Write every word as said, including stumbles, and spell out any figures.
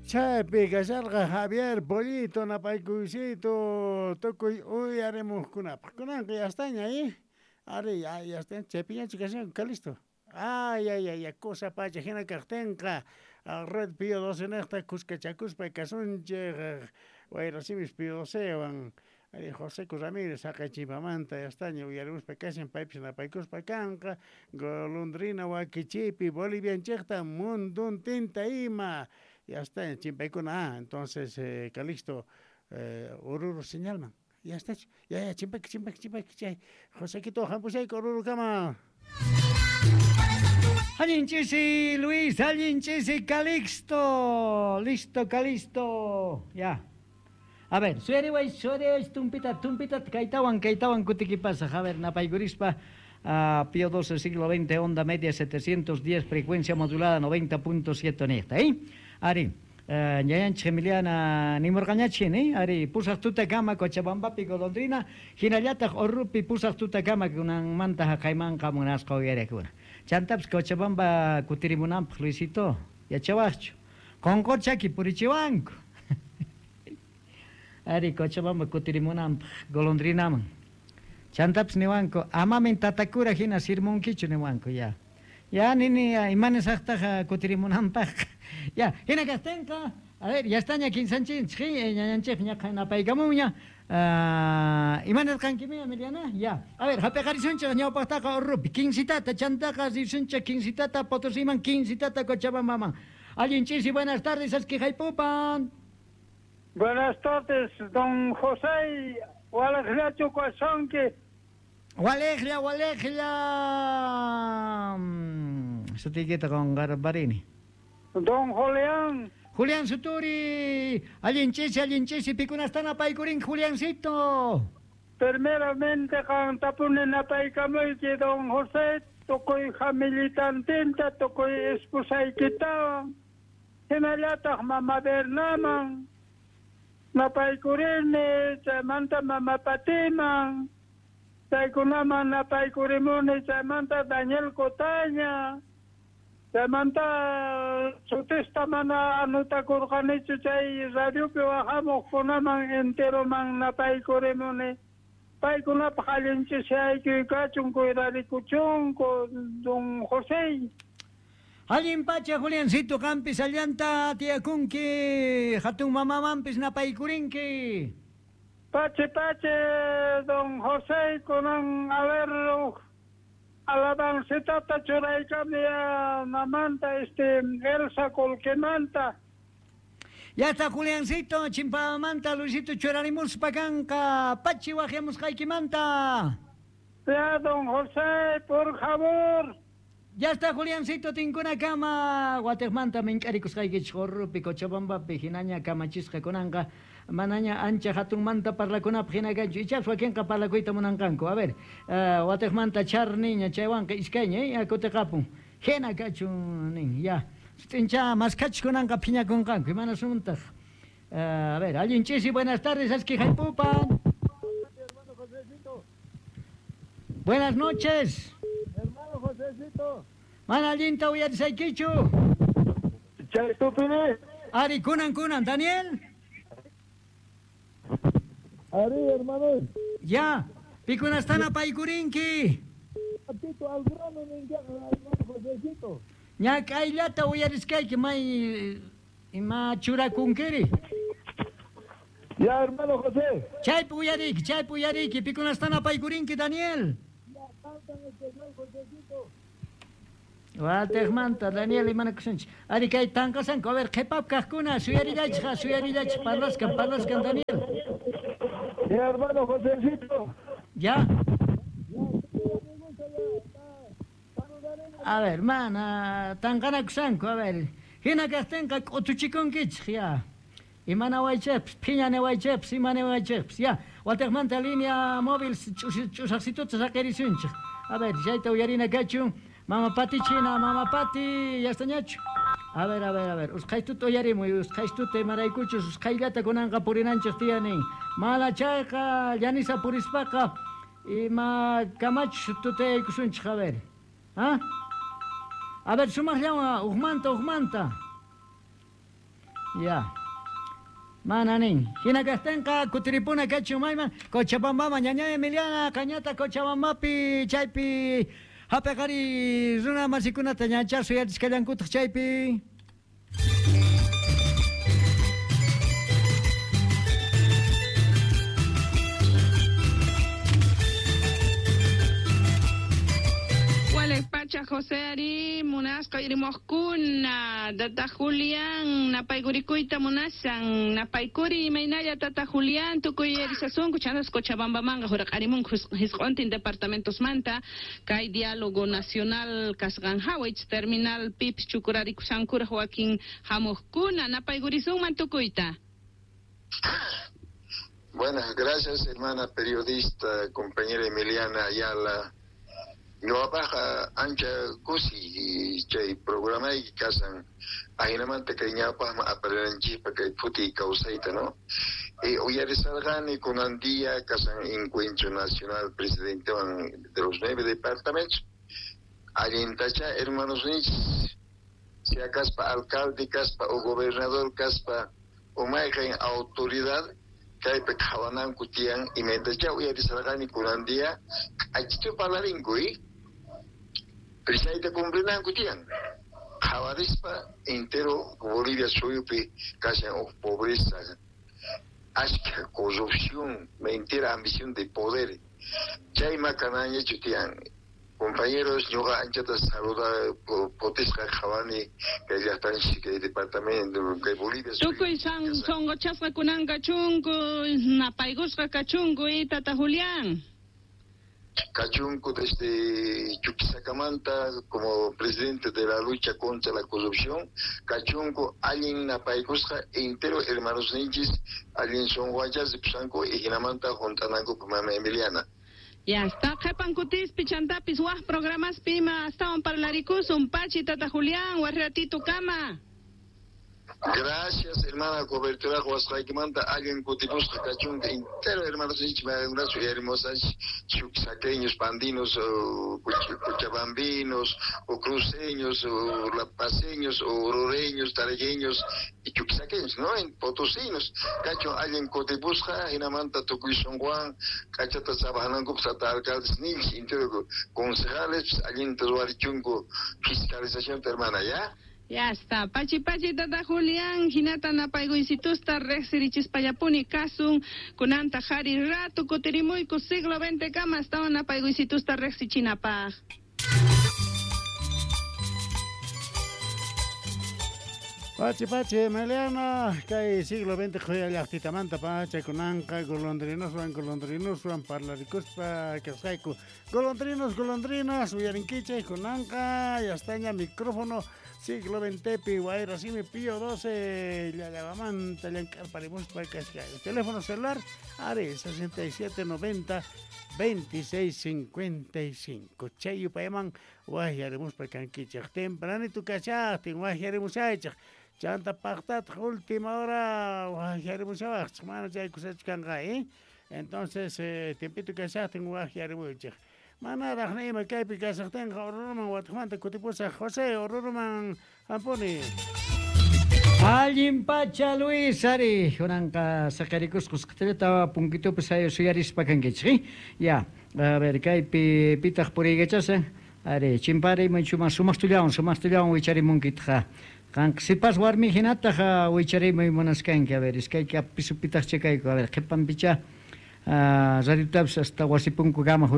Chaypi kasharqa Javier Pollito napaykuysito tukuy uyarimuqkunapaq. Kunanqa yastaña, ¿eh? Ari, ya, ya está, chaypiñachu kashan, Calixto. Ay, ay, ay, cosa pacha hina kaqtinqa Red Pío doce niqta kuskachakuspa kasunchik wayrasimis Pío docewan. Ari José Ramírez haqay chimpamanta yastaña uyarimuspa kashan, paypis napaykuspa kanqa golondrina wakichiypi bolivianchikta munduntinta ima. Ya está, chimpaykuna, ah, entonces eh, Calixto eh, Oruro señalman. Ya está, ya, ya, chimpayki, chimpayki, chimpayki, chay. Josequito, hampusayku Orurukama. Allin chisi, Luis, allin chisi, Calixto. Listo, Calixto. Ya. A ver, suyariway, suyariway, tumpita, tumpita, kaytawan, kaytawan kutikipasaj. A ver, napaykurispa, uh, Pío doce, siglo veinte, onda media setecientos diez, frecuencia modulada noventa punto siete niqta, ¿eh? Ari, uh, ñayanchik Emiliana nimurqañachin, eh? Ari, pusaq tutakama Cochabambapi golondrina, hinallataq Orrupi pusaq tutakama kunanmanta haqaymanqa munasqa uyariqkuna. Chantapis Cochabamba kutirimunanpaq Luisito, yachawaqchu. Qonqorchaki purichiwanku. Ari, Cochabamba kutirimunanpaq golondrinaman. Chantapis niwanku, amamin tatakura hina sirmunkichu niwanku, ya. Ya, nini, imanisaqtaq kutirimunanpaq. Ya, hina kaqtinqa, a ver, ya estaña kinsanchinchik, ñañanchik ñaqa napaykamunña. Uh, imanirqankimi, Emiliana? Ya. A ver, hap'iqarisunchik ñawpaqtaqa Orrupi, quincitata, chantaqa risunchik quincitata Potosiman, quincitata Cochabambaman. Allin chisi, buenas tardes, askijaypupan. Buenas tardes, don José, walejllachu kashanki. Walejlla, walejlla. Sutiykita qunqarparini. Don Julián. Julián Suturi, allin chisi, allin chisi, pikunastan apaykurin, Juliancito. Primeramente qantapuni napaykamuyki, don José, tukuy familitantinta, tukuy esposaykitawan, hinallataq mama Bernaman, napaykurini, chaymanta mama Patiman, chaykunaman napaykurimuni, chaymanta Daniel Cotaña, chaymanta sutista mana anutakurqanichu chay radiopi wahamuqkunaman enteroman napaykurimuni. Paykunapaq allinchishaykuy kachun, cuidarikuchunku, don José. Allin pacha, Juliancito, qampis allanta tiyakunki, hatun mamamanpis napaykurinki. Pache, pache, don José, kunan a ver, alabancitata churaykami mamanta, este, Elsa Colquemanta. Ya está, Juliancito, chimpamanta, Luisito, churarimuspa kanqa, pachi waqyamusqaykimanta. Ya, don José, por favor. Ya está, Juliancito, tinkuna kama, watejmanta mink'arikusqaykichik Orrupi, Cochabambapi, hinaña kamachisqa kunanqa, manaña ancha hatunmanta parlakunapaq hina kanchu, ichapas wakinqa parlakuyta munanqanku. A ver, uh, watejmanta charniña, chaywanqa iskayña, eh, kutiqapun. Hina kachun nin, ya. Sut'incha maskachik kunanqa phiñakunqanku, imanasuntaj. Uh, a ver, allin chisi, buenas tardes, askijaypupan. Buenas noches. Hermano Josecito. Mana allinta uyarisaykichu. Chay tupini. Ari, kunan, kunan, Daniel. Ari, hermano. Ya, pikunastana paykurinki. Patito al grano, hermano Josecito. Ñak'ayllata uyariskayki, may ima churakunkiri. Ya, hermano José. Chaypi uyariki, chaypi uyariki, pikunastana paykurinki, Daniel. Watejmanta, Daniel, imanakusunchik. Ari, kay tanqasanku, a ver, qhipap kaqkuna, suyarillaychik, suyarillaychik, parlaskan, parlaskan, Daniel. Ya, hermano Josecito. Ya. A ver, mana, tanqanakusanku, a ver. Hina kaqtinqa k'utuchikunkichik, ya. Imanawaychikpis, phiñanawaychikpis, imanawaychikpis, ya. Watejmanta línea móvil ch'usaqsituta saqirisunchik. A ver, chayta uyarina kachun. Mama Pati china, mama Pati, ya estañachu. A ver, a ver, a ver. Usqhaytuta uyarimuy, usqhaytuta imaraykuchus, usqhayllata kunanqa purinanchik tiyanin. Mala chayqa, llanisa purispaqa, ima kamachus tutayaykusunchik, a ver. ¿Ah? A ver, sumaqllawan, uqmanta, uqmanta. Ya. Mana nin. Hina kaqtinqa kutiripuna kachun mayman Cochabambaman ñaña Emiliana qañata Cochabambapi chaypi hap'aqari runa masikunata ñacha suyachisqallankutaq chaypi. Pacha José Ari munasqa irimojkuna tata Julián napaykurikuyta munasan napaykuri imaynalla tata Julián tukuy erisasunku chantas Cochabambamanqa huraqarimunku hisq'untin departamentosmanta kay diálogo nacional kasqan hawich terminal pipis chukurarikushankuraq wakin hamuqkuna napaykurisunman tukuyta. Buenas, gracias hermana periodista, compañera Emiliana Ayala. Ñuqapaqqa ancha kusi chay programayki kasan ajinamanta kay ñawpaqman aparinanchikpa kay phutiy kawsayta, ¿no? E uyarisarqani kunan día kasan encuentro nacional presidentewan de los nueve departamentos allintacha hermanos ninchis sea kaspa alcalde kaspa o gobernador kaspa o mayqin autoridad kaypi qhawananku tiyan imaytacha uyarisarqani kunan día k'achitu parlarinku y prisayta cumplinanku tiyan qhawarispa entero Bolivia suyupi kashan uj pobreza ashka corrupción mentira ambición de poder chayma kanañachu tiyan. Compañeros, ñuqa anchata saluda potisqa qhawani kay llaqtanchik kay departamento kay Bolivia. Tukuy san sonqochasqa kunan kachunku napaykusqa kachunku y tata Julián. Kachunku desde Chuquisacamanta como presidente de la lucha contra la corrupción, kachunku allin napaykusqa entero hermanos ninchis allin sonqochas pusanku y hinamanta juntananku mama Emiliana. Ya está, qhepan kutispi chantapis waj programas pima astawan parlarikusun pachi tata Julián warratito kama. Gracias, hermana, cobertura huasqaykimanta allin kutipusqa kachunka entero hermanos ninchik hermosas chuquisaqueños, pandinos, o cochabambinos, o cruceños, o lapaceños, o orureños, taragueños y chuquisaqueños, ¿no? En potosinos. Kachun allin kutipusqa hinamanta tukuy sunquwan kachata trabajananku tata alcaldes ninchik entero concejales allinta ruwarichunku fiscalización hermana, ¿ya? Ya está. Pachi pachi tata Julián, hinata napaykuysitusta riqsirichispallapuni kasun kunanta jari ratu kutirimuyku siglo veinte kama astawan napaykuysitusta riqsichinapaq. Pachi pachi Emiliana, kay siglo veinte qhuya llaqtitamanta pacha kunanqa golondrinoswan golondrinoswan parlarikuspa kasqayku. Golondrinos, golondrinas, uyarinkichik kunanqa ya estaña micrófono siglo veinte Wayrasimi Pío doce llallabamanta llank'arparimuspa kasqayku. Teléfono celular ari sesenta y siete noventa veintiséis cincuenta y cinco. Chay yupayman wajyarimuspa kankichik. Tempranito kashaqtin wajyarimushaychik. Chanta paqtataq última hora wajyarimushawaqchik mana chay kusachu kanqa, ¿eh? Entonces, eh, tiempito kashaqtin wajyarimuchik. Manaraq nima kaypi kashaqtinqa Oruruman watuqmanta kutipusaq. José, Oruruman hampuni. Allin pacha Luis ari kunanqa saqarikusqus q'itillata punkitupi suyarispa kankichik. Ya, a ver kaypi pitaq puriykachashan ari chimpari chuma sumaqtullawan sumaqtullawan wicharimunkitaq. Qanqa sipas warmi hinataq wicharimuy munaskanki. A ver iskayki pisupitaq chikayku. A ver qhipanpicha radiotapis hasta wasipunkukama.